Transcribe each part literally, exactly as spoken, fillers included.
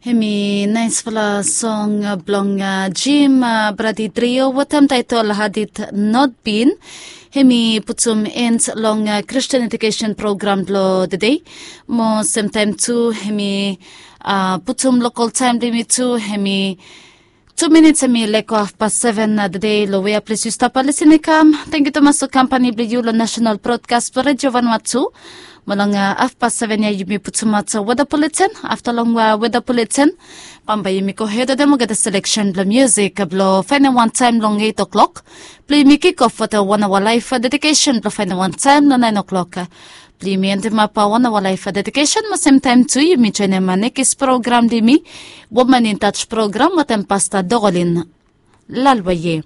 Hemi naispela song blong Jim Bradi Trio wetem taitol Hadit Notbin. Hemi putum end long Christian Education Program blong the day. Mo semtaim tu hemi putum lokal taim blong yumi tu hemi tu minits hemi leko afpas seven the day long wea ples yu stap lisin i kam. Tangkiu tumas long kampani blong yu long National Broadcast blong Radio Vanuatu. Mo long afpas seven ya yumi putumaot weda bulletin. Afta long weda bulletin bambae yumi go hed wetem olgeta seleksen blong musik blong faenem wan taim long eight o'clock. Blong yumi kik of wetem wan aoa laef dedikesen blong faenem wan taim long nine o'clock. Blong yumi endimap wan aoa laef dedikesen mo semtaim tu yumi joenem nekis program blong yumi, Woman in Touch program wetem Pasta Dogolin Lalwaye.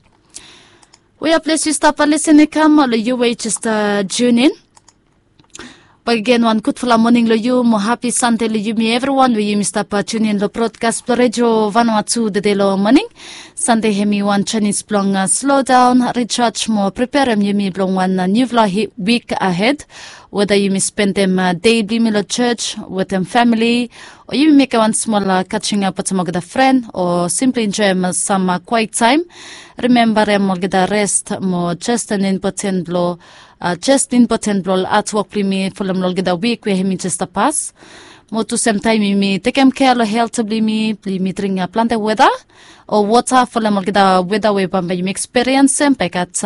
Wea ples yu stap lisin i kam, ol yu we jes tune in. Bakegen wan gudfala moning long yu mo hapi Sande long yumi evriwan we yumi stap tune in long brodkas blong Radio Vanuatu tede long moning. Sande hemi wan janis blong slodaon, ricaj mo preperem yumi blong wan niufala wik ahed. Weda yumi spendem dei blong yumi long joj wetem famili, o yumi mekem wan smol kajingap wetem olgeta fren, o simpli enjoem sam kwaet taim. Rimembarem olgeta rest mo jes impoten blong jes impoten blong ol hatwok blong yumi folem long olgeta wik we hemi jes stap pas. Mo tu semtaim yumi tekem kea long helt blong yumi, blong yumi dring plante weta o wota folem olgeta weta we bambae yumi ekspiriensem. Bae i gat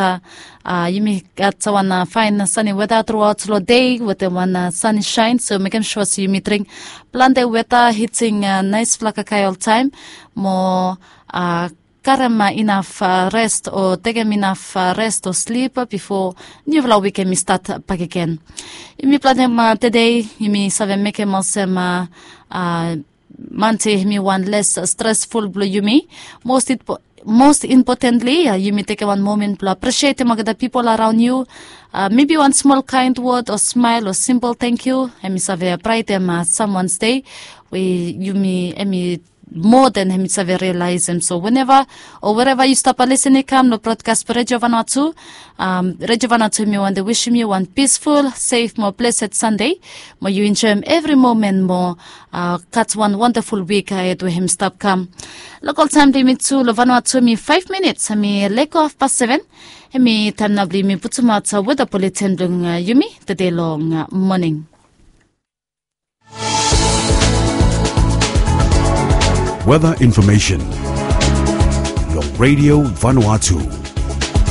yumi gat wan faen sani weta truaot long dei wetem wan sani saen, so mekem sua se yumi dring plante weta, hiting naesfala kakae oltaem, mo karem inaf rest o tekem inaf rest o slip bifo niufala wik hemi stat bakegen. Yumi planem tede yumi save mekem olsem Mante hemi wan les stresful blong yumi. Most impotentli yumi tekem wan momen blong apresietem olgeta pipol araon yu. Mebi wan smol kaen wod o smael o simpol tangkiu hemi save braetem samwan dei we yumi hemi moa den hemi save rialaesem. So weneva o wereva yu stap lisin i kam long brodkas blong Radio Vanuatu, Radio Vanuatu hemi wantem wisim yu wan pisful, sef mo blesed Sande. Mo yu enjoem evri momen mo gat wan wondaful wik ahed we hemi stap kam. Lokal taem blong yumi tu long Vanuatu hemi faef minits hemi leko afpas seven. Hemi taem nao blong yumi putumaot weta buletin blong yumi tede long moning. Weather information long Radio Vanuatu.